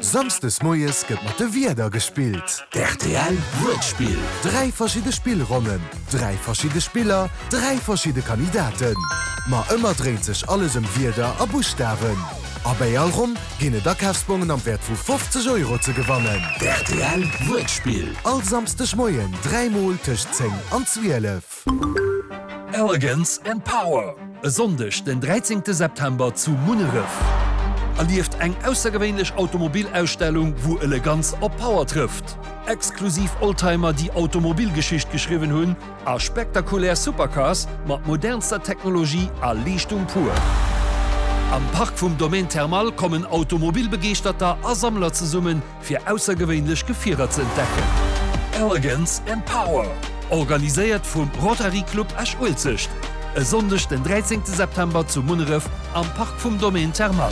Samsdes moies gëtt mat de Wierder gespillt. D'RTL Wuertspill. 3 verschidde Spillronnen, 3 verschidde Spiller, 3 verschidde Kandidaten. Ma ëmmer dréint sech alles ëm Wierder a Buschtawen. A bäi all Ronn ginn et Akafsbongen am Wäert vu 50 Euro ze gewannen. D'RTL Wuertspill. All Samsdeg Moien 3 mol tëscht 10 an 12. Elegance and Power, e Sonndeg den 13 September zu Munneref. Erlieft eng aussergewéinlech Automobilausstellung, wou Eleganz op Power trëfft. Exklusiv Oldtimer, déi Automobilgeschicht geschriwwen hunn, a spektakulär Supercars mat modernster Technologie a Leeschtung pur. Am Park vum Domaine Thermal kommen Automobilbegeeschterter a Sammler zesummen, fir aussergewéinlech Gefierer ze entdecken. Elegance and Power, organiséiert vum Rotary Club Esch-Uelzecht, e Sonndeg den 13 September zu Munneref am Park vum Domaine Thermal.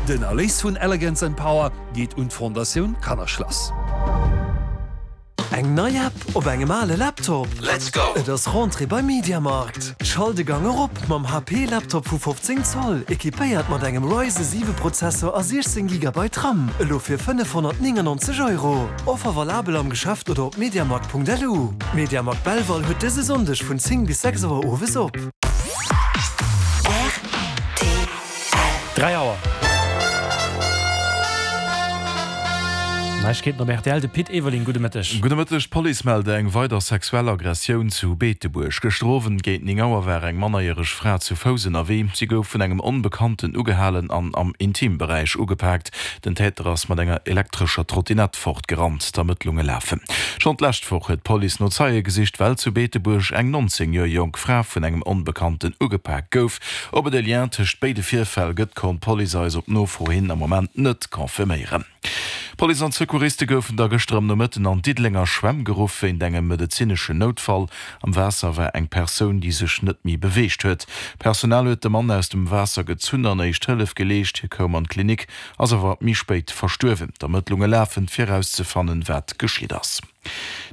Den Erléis vun Elegance and Power geet un d'Fondatioun Kannerschlass. Eng nei App op engem ale Laptop? Let's go! Et ass Rentrée bei MediaMarkt. Schalt de Gang erop mam HP Laptop vu 15 Zoll, equipéiert mat engem Ryzen 7 Prozessor a 16 Gigabyte RAM, elo fir 599 Euro. Offer valabel am Geschäft oder op mediamarkt.lu. MediaMarkt Belval huet dëse Sonndeg vun 10 bis 6 Auer owes op. 3 Auer. Neiegkeeten op rtl, de Pit Everling, gudde Mëtteg. Gudde Mëtteg. D'Police mellt eng weider sexuell Aggressioun zu Beetebuerg. Gëschter Owend géint 9 Auer war eng mannerjäreg Fra zu Fouss ënnerwee. Si gouf vun engem Onbekannten ugehalen an am Intimberäich ugepaakt. Den Täter ass mat enger elektrescher Trottinett fortgerannt. D'Ermëttlunge lafen. Schonn d'lescht Woch huet d'Police no Zeie gesicht, well zu Beetebuerg eng 19 Joer jonk Fra vun engem Onbekannten ugepaakt gouf. Ob et e Lien tëscht béide Virfäll gëtt, konnt d'Police eis op Nofro hin am Moment net confirméieren. Police an Secouriste goufen da gëschter am Nomëtten an d'Diddelenger Schwämm geruff wéint engem medezineschen Noutfall. Am Waasser war eng Persoun, déi sech net méi beweegt huet. D'Personal huet de Mann aus dem Waasser gezunn an éischt Hëllef geleescht. Hie koum an d'Klinik, ass awer méi spéit verstuerwen. D'Ermëttlunge lafen, fir erauszefannen, wat geschitt ass.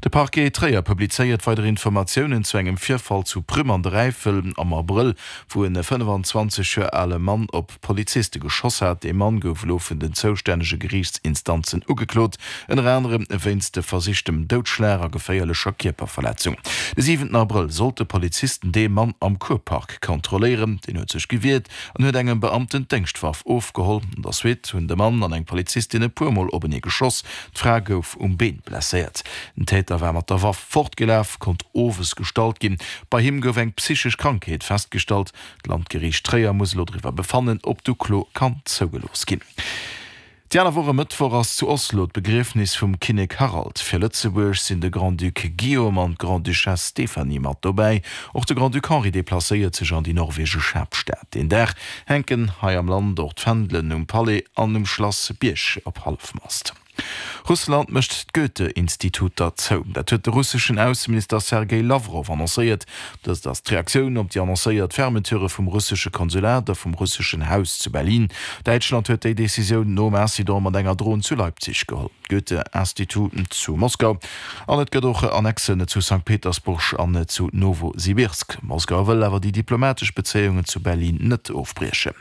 De Parquet Tréier publizéiert weider Informatiounen zu engem Virfall zu Prüm an der Äifel am Abrëll, wou en 25 Joer ale Mann op Poliziste geschoss hat. Dee Mann gouf elo vun den zoustännege Geriichtsinstanzen ugeklot, ënner anerem wéinst versichtem Doudschlag a geféierlecher Kierperverletzung. De siwenten Abrëll sollte Polizisten dee Mann am Kurpark kontrolléieren. Deen huet sech gewiert an huet engem Beamten d'Déngschtwaff ofgeholl. An der Suite hunn de Mann an eng Polizistin e puer Mol openee geschoss. D'Fra gouf um Been blesséiert. Den Täter war mat der Waff fortgelaf, konnt owes gestallt ginn. Bei him gouf eng psychesch Krankheet festgestallt. D'Landgeriicht Tréier muss elo driwwer befannen, ob d'Uklo kann zougelooss ginn. Déi aner Woch e Mëttwoch ass zu Oslo d'Begriefnis vum Kinnek Harald. Fir Lëtzebuerg sinn de Grand-Duc Guillaume an d'Grande-Duchesse Stéphanie mat dobäi. Och de Grand-Duc Henri deplacéiert sech an déi norwegesch Haaptstad. Deen Dag hänken hei am Land och d'Fändelen um Palais an um Schlass Bierg op Hallefmast. Russland mécht d'Goethe-Instituter zou. Dat huet de russeschen Ausseminister Sergej Lawrow annoncéiert. Dëst ass d'Reaktioun op déi annoncéiert Fermeture vum russesche Konsulat a vum russeschen Haus zu Berlin. Däitschland huet déi Decisioun nom Incident mat enger Dron zu Leipzig geholl. D'Goethe-Institut zu Moskau an et gëtt och Annexen zu Sankt Petersburg an zu Nowosibirsk. Moskau wëll awer déi diplomatesch Bezéiungen zu Berlin net ofbriechen.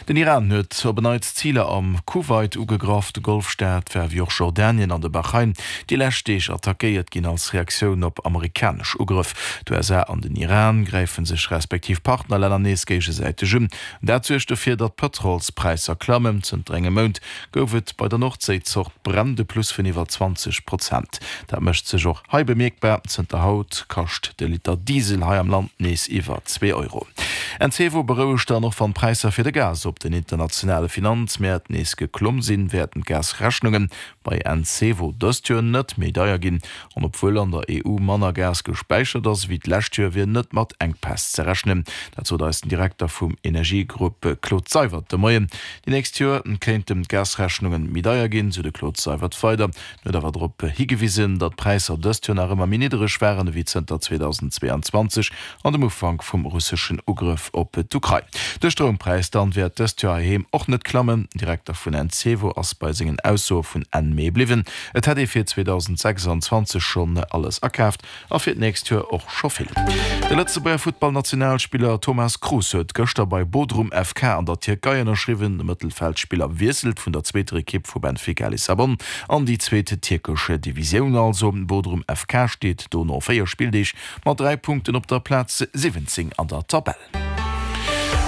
Den Iran huet op en Neits Ziler am Kuwait ugegraff. De Golfstaat war wéi och Jordanien an de Bahrain déi lescht Deeg attackéiert ginn als Reaktioun op amerikanesch Ugrëff. D'USA an den Iran gräife sech respektiv Partnerlänner nees géigesäiteg un. Dat suergt dofir, datt d'Pëtrolspräisser klammen. Zënter engem Mount gouf et bei der Nordséizort Brent e Plus vun iwwer 20 Prozent. Dat mécht sech och hei bemierkbar, Zënter haut kascht de Liter Diesel hei am Land nees iwwer 2 Euro. Encevo berouegt dann, och wann d'Präisser fir de Gas op den internationale Finanzmäert nees geklomm sinn, wäerten d'Gasrechnunge bei Encevo dëst Joer net méi deier ginn. An obwuel an der EU manner Gas gespäichert ass ewéi d'lescht Joer, wier net mat Enkpäss ze rechnen. Dat sot eis den Direkter vum Energiegrupp Claude Seywert de Moien. Déi nächst Joer kéinten d'Gasrechnunge méi deier ginn, sou de Claude Seywert weider. En huet awer drop higewisen, datt d'Präisser dëst Joer nach ëmmer méi niddereg waren ewéi zënter 2022 an dem Ufank vum russeschen Ugrëff op d'Ukrain. De Stroumpräis. Gaspräis dann wäert dëst Joer heiheem och net klammen. Den Direkter vun Encevo ass bei sengen Aussoe vun Enn Mee bliwwen. Et hätt ee fir 2026 schonn alles akaaft a fir d'nächst Joer och scho vill. De Lëtzebuerger Futtballnationalspiller Thomas Cruz huet gëschter bei Bodrum FK an der Tierkei ënnerschriwwen. De Mëttelfeldspiller wiesselt vun der zweeter Ekipp vu Benfica Lissabon an déi zweet tierkesch Divisioun. Also Bodrum FK steet do no 4 Spilldeeg mat 3 Punkten op der Plaz 17 an der Tabell.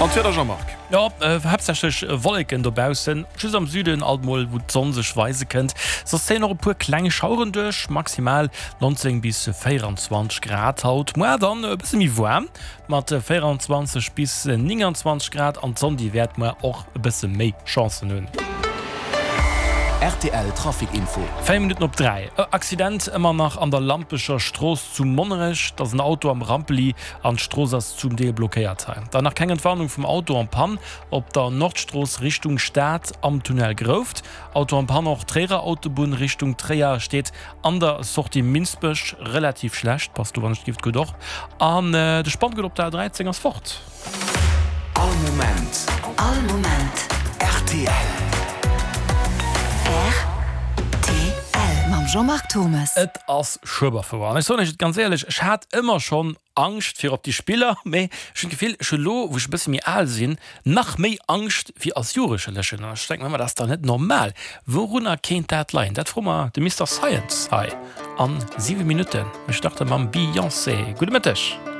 An d'Wieder, Jean-Marc? Jo, haaptsächlech Wolleken dobaussen, just am Süden alt mol wou d'Sonn sech weise kënnt. Soss zéien och e puer kleng Schaueren duerch, maximal 19 bis 24 Grad haut. Muar dann e bësse méi waarm mat 24 bis 29 Grad an d'Sonn déi wäert muar och e bësse méi Chancen hunn. Rtl Trafic Info. 4 Minutten op 3, Accident ëmmer nach an der Lampecher Strooss zu Monnerech. Et ass en Auto am Rampeli An d'Strooss ass zum Deel blockéiert. Hei dann nach keng Entwarnung vum Auto en Panne op der Nordstrooss Richtung Stad am Tunnel Grouft. Auto en Panne och Tréierer Autobunn Richtung Tréier steet an der Sortie Minsbech relativ schlecht. Passt do wann ech gift gutt och. An de Spanngurt op der A13 ass fort. All Moment. All Moment. Rtl. Rtl. Mam Jean-Marc Thommes. Et ass Schueberfouer. An ech soen iech et ganz éierlech, ech hat ëmmer schonn Angscht fir op déi Spiller, mee ech hunn d'Gefill, ech hunn elo, wou ech e bësse méi al sinn, nach méi Angscht wéi als Jugendlechen. An ech denke mer ëmmer, dat ass dach net normal. Wourunner kéint dat leien? Dat froe mer de Mister Science hei a 7 Minutten. Mir starte mam Beyoncé. Gudde Mëtteg.